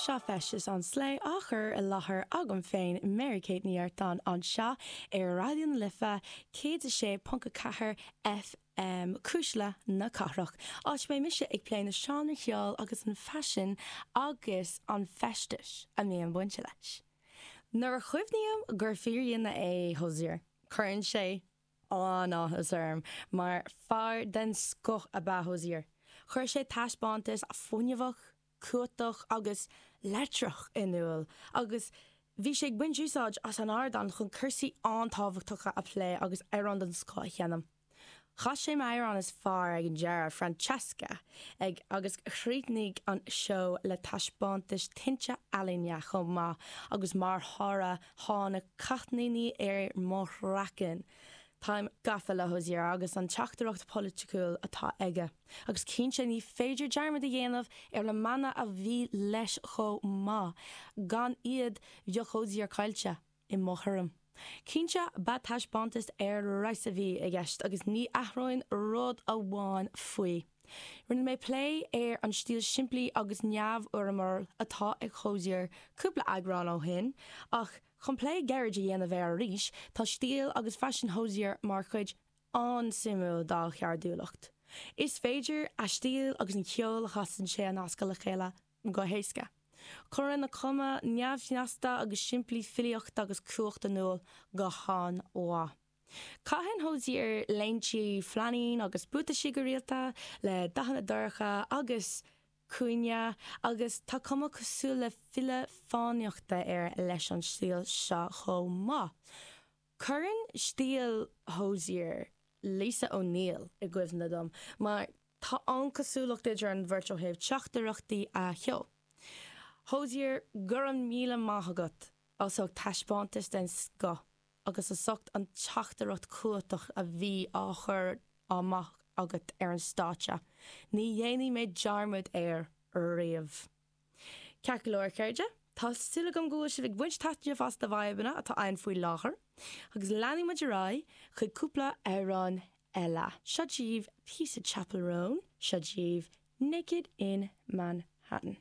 Seo Feisteas an Slé á chur i láthair agam féin, Mary Kate Ní Artáin, anseo ar Raidió na Life 106.4 FM, Cuisle na Cathrach, áit a mbeidh mise ag plé na seánraí ceoil agus an faisean agus an feistis a mbíonn bainte leis. Nuair a chuimhním gur fíordhuine é Hozier, cuireann sé an-áthas orm mar fear den scoth ab ea Hozier. Chuir sé taispeántas fuinneamhach, cumhachtach agus leictreach in iúl agus bhí sé ag baint úsáid as an ardán chun cúrsaí an-tábhachtacha a phlé agus amhráin den scoth a sheinm. Chas sé m'amhrán is fearr ag an deireadh, Francesca, ag agus chríochnaigh an seó le taispeántas tinte ealaíne chomh maith agus mar thoradh tháinig cáithníní ar mo chraiceann. Táim gafa le Hozier agus an teachtaireacht polaitiúil atá aige. Agus cinnte ní féidir dearmad a dhéanamh ar na mná a bhí leis chomh maith, gan iad bheadh Hozier caillte. i mo thuairim. Cinnte, ba taispeántas ar fheabhas a bhí i gceist agus ní athróinn rud amháin faoi. Rinne mé plé ar an stíl simplí agus neamhfhoirmiúil atá ag Hozier cúpla eagrán ó shin, ach chun plé gairid a dhéanamh air arís, tá stíl agus faisean Hozier mar chuid an-suimiúil dá cheardúlacht. Is féidir a stíl agus an ceol a chasann sé a nascadh le chéile go héasca. Cuireann a cuma neamhshnasta agus simplí filíocht agus cumhacht in iúl go han-mhaith. Caitheann Hozier léinte flainín agus buataisí go rialta, le dathanna dorcha agus cúinne, agus tá cuma cosúil le file fánaíochta air leis an stíl seo chomh maith. Cuireann stíl Hozier Lisa O'Neill i gcuimhne dom, mar tá an-cosúlacht idir an bheirt ó thaobh teachtaireachtaí a cheoil. Hozier, go raibh míle maith agat as ucht taispeántas den scoth agus as ucht an teachtaireacht chumhachtach a bhí á chur amach agat ar an stáitse. Ní dhéanfaidh mé dearmad air riamh. Ceart go leor, a chairde, tá súil agam go bhfuil sibh ag baint taitneamh as na vibeanna atá ann faoi láthair, agus leanfaidh muid ar aghaidh chuig cúpla amhrán eile. Seo daoibh píosa Chappell Roan, seo daoibh Naked in Manhattan.